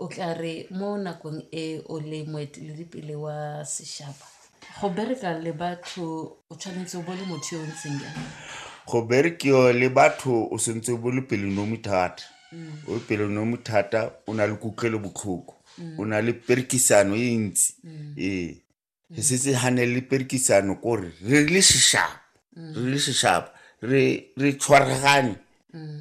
O tla re mo nakong e o le moeteledipele wa sešaba, go bereka le batho o tshwanetse o bo le motho yo o ntseng jang? Go berekiwa le batho o sentse o bo le pelonomi thata. O pelonomi thata, o na le kutlwelo botlhoko, o na le perekisano e ntsi. Ee, re setse gane le perekisano kore re le sešaba, re le sešaba re tshwaragane.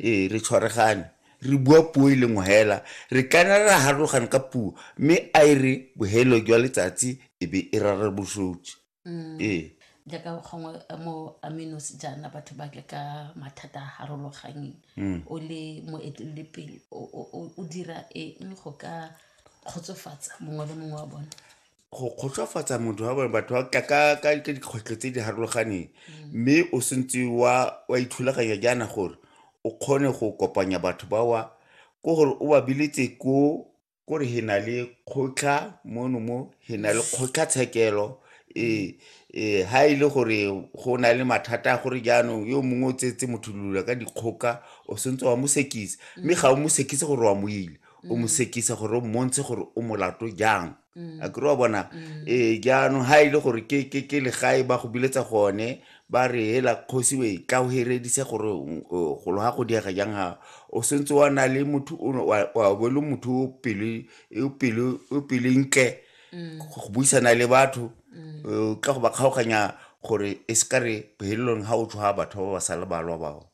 Ee, re tshwaragane, re bua puo e lengwe hela. Re kana ra harologana ka puo, mme a e re bohelo jwa letsatsi e be e rarabosotse. Ee. Jaaka gongwe mo Aminos jaana batho ba tle ka mathata a harologanyeng, o le moeteledipele o dira eng go ka kgotsofatsa mongwe le mongwe wa bone? Go kgotsofatsa motho wa bone, batho ba tla ka dikgwetlho tse di harologaneng, mme o sentse wa ithulaganya jaana gore o kgone go kopanya batho bawa, ko gore o ba biletse ko kore he na le kgotla mono mo, he na le kgotlatshekelo. Ee, ee, ha e le gore go na le mathata a gore jaanong yo mongwe o tsetse motho lula ka dikgoka, o sentse wa mo sekisa, mme ga o mo sekise gore wa mo ile, o mo sekisa gore o mmontshe gore o molato jang. A kere wa bona? Ee, jaanong ha e le gore ke legae ba go biletsa gone, ba re hela kgosi we tla o heredise gore golo ga go diega jang, ga o sentse wa na le motho wa bo le motho o pelo, o pelo, o pelo ntle go buisana le batho, o tla go ba kgaoganya gore e se ka re bohelelong ga o tshwara batho ba ba sa le balwa bao.